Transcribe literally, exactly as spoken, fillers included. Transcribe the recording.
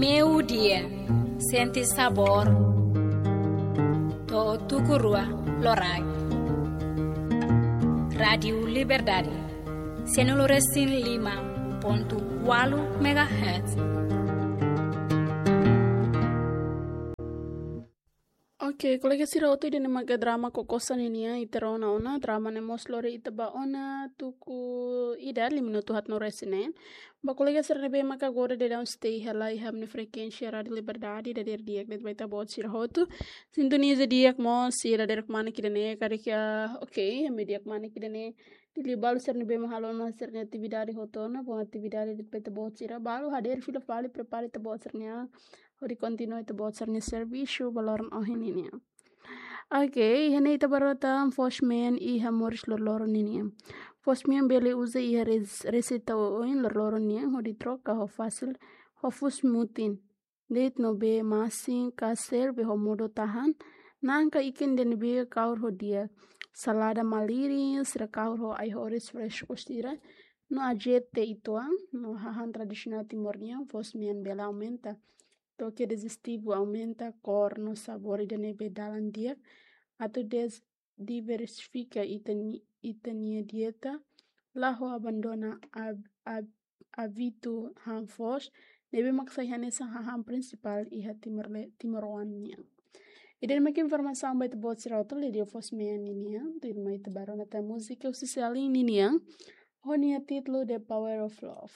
Meio-dia, sente sabor. To'o tuku rua loraik. Rádiu Liberdade, cento e cinco e cinco ponto quatro megahertz. Oke, kolega sira hotu, ida-ne'e maka drama Kokosa ninian, ita rona ona, drama ne'e mós lori ita ba ona tuku ida, lima minutu haat no resin neen. Ba kolega sira ne'ebé maka agora daudaun stay hela iha ami-nia frekuénsia Rádiu Liberdade, dadeer di'ak de'it ba ita-boot sira hotu. Sintoniza di'ak mós sira dadeer kmanek ida-ne'e, karik, ah, oke, ami di'ak kmanek ida-ne'e. Liuliu balu sira ne'ebé mak halo ona sira-nia atividade hotu ona, bom atividade de'it ba ita-boot sira. Balu hadeer fila fali, prepara ita-boot sira-nia, hodi kontinua ita-boot sira-nia servisu ba loron ohin ninian. Oke, iha ne'e ita bá rona tan foos-mean iha moris loroloron ninian. Foos-mean bele uza iha res-, reseita oioin loroloron nian, hodi troka ho fasil, ho fuus mutin de'it no bee masin ka serve ho modo tahan, na'an ka ikan ida-ne'ebé kahur ho di'ak. Salada malirin, sira kahur ho ai-horis fresku sira, no azeite uitoan, no hahán tradisionál Timor nian, foos-mean bele aumenta toke dijistivu, aumenta kór no sabór ida-ne'ebé dalan di'ak, atu des-, diversifika ita-ni-, ita-nia dieta, la ho abandona ab-, ab-, hábitu han foos, ne'ebé mak sai hanesan hahán prinsipál iha Timor le-, timoroan nian. Ida-ne'e mak informasaun ba ita-boot sira hotu liuliu foos-mean ninian, tuirmai ita bá rona tan múzika husi Selin ninian, ho nia títulu The Power of Love.